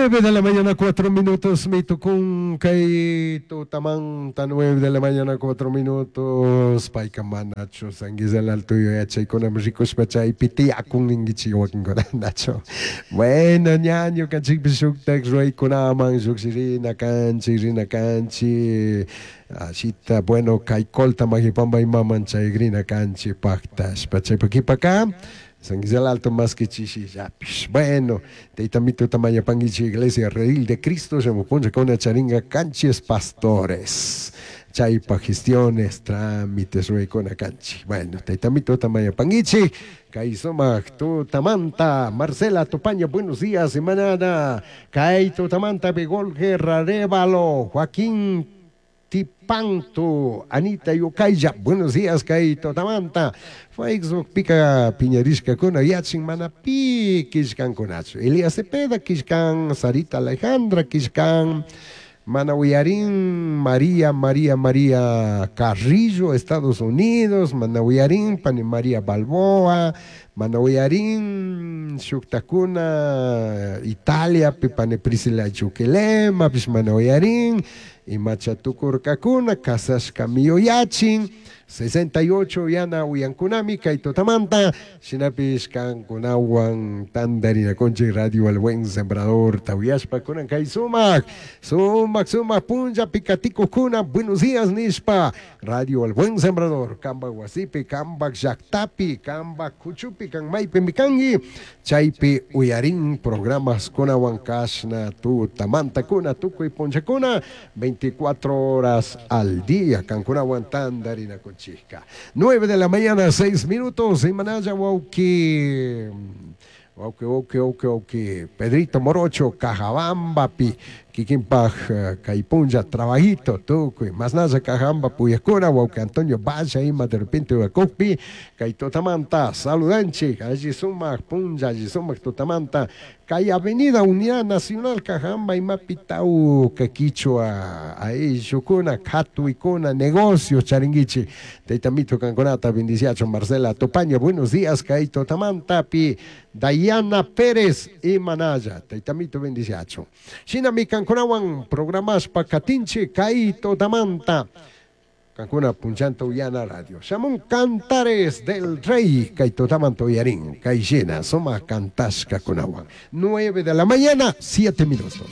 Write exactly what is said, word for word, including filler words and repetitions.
Nueve de la mañana, cuatro minutos, mitukun kay tutamanta, nueve de la mañana, cuatro minutos. Payka manachu San Guisel Alto yachaykunami rikushpa chaypi tiyakun ninkichik wakinkunanachu. Bueno, ña ñukanchikpish shuktak ruraykunaman llukshirina kanchik, rina kanchik. Ashita, bueno, kay Colta Magipamba imaman chayrina kanchik paktashpa chaypa kipaka San Guisel Alto más que chishillapish. Bueno, tayta mituta mayapanguichi Iglesia Redil de Cristo, shamupuncha kuna charinga canchis pastores. Chaypa gestiones, trámites, ruraykuna kanchik. Bueno, tayta mituta mayapanguichi, kay sumak tutamanta, Marcela Tupaña, buenos días, semanada. Kay tutamanta, Begol Guerra Arevalo, Joaquín Tipanto, Anita Yukaya, buenos días, kay tutamanta. Facebook pika piñarishkakuna yachin mana pi killkankunachu. Elías Cepeda killkan, Sarita Alejandra killkan, mana uyarin María, María, María Carrillo, Estados Unidos, mana uyarin pani María Balboa, mana uyarin shuktakuna Italia, pani Priscila Chuquilema, pish mana uyarin, imacha tukurkakuna, kasashkami yuyachin, sesenta y ocho yana uyankunami kay tutamanta, shinapish kankunawan tandarinakunchik Radio El Buen Sembrador, tawiyashpa kunan kay sumak, sumak, sumak punlla pikatikukuna, buenos días nishpa, Radio El Buen Sembrador, kamba wasipi, kamba llaktapi, kamba kuchupi, kan maypi mikangi, chaypi uyarin programas kunawan kashna tutamanta kuna, tukuy punllakuna, veinticuatro horas al día, kankunawan tandarinakunchik. Chica. nueve de la mañana, seis minutos, y Manaya, wauki, wauki, wauki, wauki, wauki, Pedrito Morocho, Cajabamba, pi, Kikimpaj, Caipunja, Trabajito, Tucuy, Masnaya, Cajabamba, Puyacura, wauki, Antonio Valla, ima de repente, Huacocpi, Caitotamanta, saludanchi, allí sumac, Punja, allí sumac, Totamanta, Cay Avenida Unidad Nacional, Cajamba, Imapitau, Caquichua, ahí, Yucuna, Catuicuna, negocios, Charinguichi, Teitamito, Canconata, Bendiciacho, Marcela Topaño, buenos días, Caito Tamanta, Pi, Dayana Pérez y Manaya, Teitamito, Bendiciacho. Shinami, Canconawan, programas Pacatinche, Caito Tamanta. Cancuna Punchanta Uyana Radio. Shamun Cantares del Rey, Kaitotamanto Yarín, Kaishena, Soma Cantasca Cunawan. Nueve de la mañana, siete minutos.